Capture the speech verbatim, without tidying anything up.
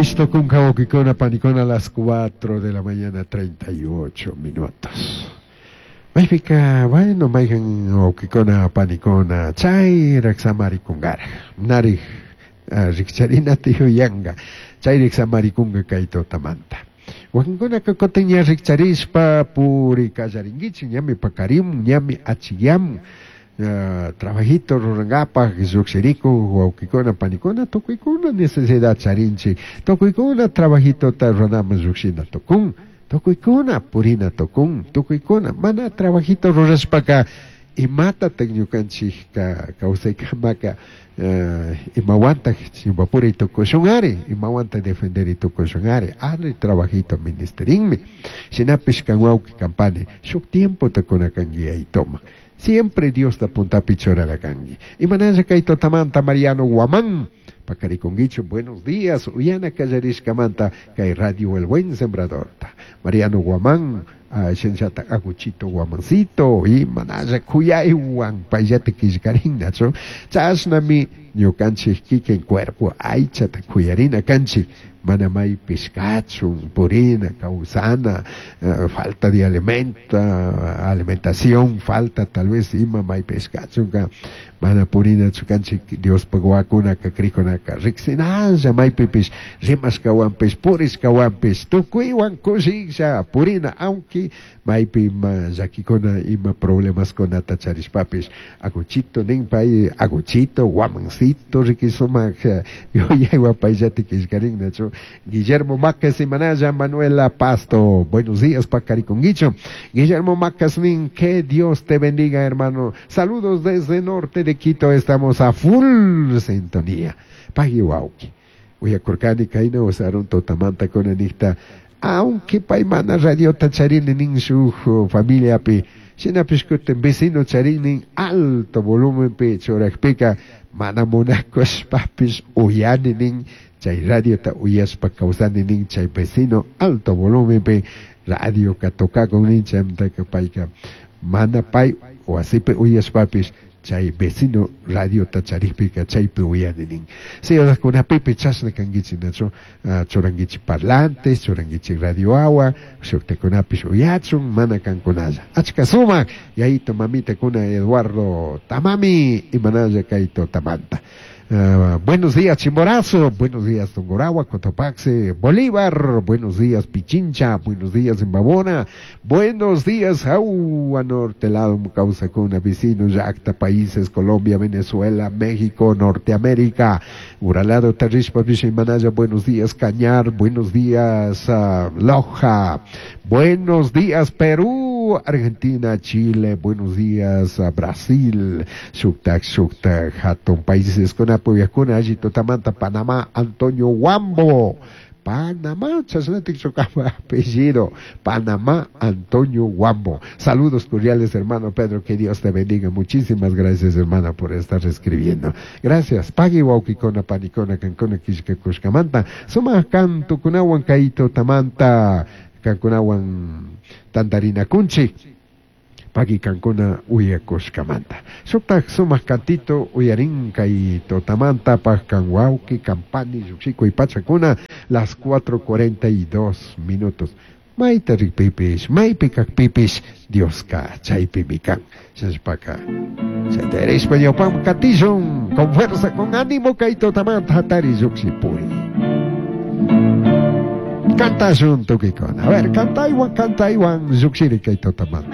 Pish tukunka wawkikuna panikuna las cuatro de la mañana treinta y ocho minutos. Maypika, bueno, mayhan wawkikuna panikuna chayrak samarikunkaraj. Narik rikcharinata yuyanka. Chayrik samarikunka kay tutamanta. Wakinkunaka kutin ña rikcharishpa puri kallarinkichik, ñami pakarimun, ñami achikyamun. Uh, trabajito rurankapaj llukshirikuk wawkikuna panikuna, tukuykuna necesidad charinchik, tukuykuna trabajitota ruranaman llukshina tukun, tukuykuna purina tukun, tukuykuna mana trabajito rurashpaka imatatak ñukanchikka kawsaykamaka uh, imawantak chimpapuri tukushun imawanta defenderi tukushun ari? Ari, trabajito ministerinmi. Shinapish kan wawki kan pani shuk tiempota kuna kanki yayituma. Siempre Diosta puntapi churana kanki. Imanalla kay tutamanta Mariano Guamán. Pakarikunguicho, buenos días. Uyana kallarishkamanta kay Radio El Buen Sembrador. Mariano Guamán, uh, shinallata Aguchito Guamancito, y manalla kuyaywan payllata killkarinnachu. Chashnami ñukanchik kikin cuerpo aychata kuyarina kanchik. Mana maypish kachun, purina, kawsana, uh, falta de alimenta, alimentación, falta tal vez ima maypish kachunka, mana purinachu kanchik. Diospaj wawakunaka crikkunaka riksinalla maypipish rimashkawanpish purishkawanpish tukuywan kushiklla purina, aunque maypi ima llakikuna ima problemaskunata charishpapish. Aguchito nin pay, Aguchito Guamancito, riki sumak yuyaywan payllata killkarinnachu. Guillermo Macas y Manaya Manuela Pasto, buenos días, pakarikunguicho. Guillermo Macas nin, que Dios te bendiga, hermano, saludos desde norte de Quito, estamos a full sintonía. Pagui wawki. Uyakurkani kayna usarun tutamanta kuna nikta, aunque pay mana radiota charini nin shuk familiapi, shinapish kutin vecino charini alto volumenpi churakpika mana munakushpapish uyani nin, chay radiota uyashpa kawsani nin, chay vecino alto volumenpi radioka tocakun nin. Chaymantaka payka mana pay wasipi uyashpapish chay vecino radiota charikpika chaypi uyani nin. Ciudadkunapipi chashna kankichik, nachu? uh, churankichik parlantes, churankichik radio awa, shuktakunapish uyachun, mana kankunalla. Achka sumak yayito mamitakuna. Eduardo Tamami, imanalla kay tutamanta. Uh, buenos días, Chimborazo, buenos días, Tungurahua, Cotopaxi, Bolívar, buenos días, Pichincha, buenos días, Imbabura, buenos días, Agua Norte, lado kawsakuna, vecinos, llakta, países, Colombia, Venezuela, México, Norteamérica, Uralado, Tarishpa, Manaya, buenos días, Cañar, buenos días, uh, Loja, buenos días, Perú, Argentina, Chile, buenos días, uh, Brasil, shuktak, shuktak, hatun países, con Puyacuna, alli tutamanta, Panamá, Antonio Guambo. Panamá, chashnatik apellido, Panamá, Antonio Guambo. Saludos cordiales, hermano Pedro, que Dios te bendiga. Muchísimas gracias, hermana, por estar escribiendo. Gracias. Pagui wawkikuna panikuna kankuna killkakushkamanta. Sumak kantukunawan kay tutamanta kankunawan tantarinakunchik. Pagui kankuna uyakushkamanta. Shuktak sumak kantito uyarin kay tutamanta pak kan wawki kan pani llukshikuy pachakuna las cuatro cuarenta y dos minutos. Mayta rikpipish, maypi kakpipish, Dioska chaypimi kan. Shashpaka. Shatarishpa ñawpam katishun, con fuerza, con ánimo kay tutamanta hatari llukshipuri. Kantashun tukuykuna. A ver, kantaywan, kantaywan llukshiri kay tutamanta.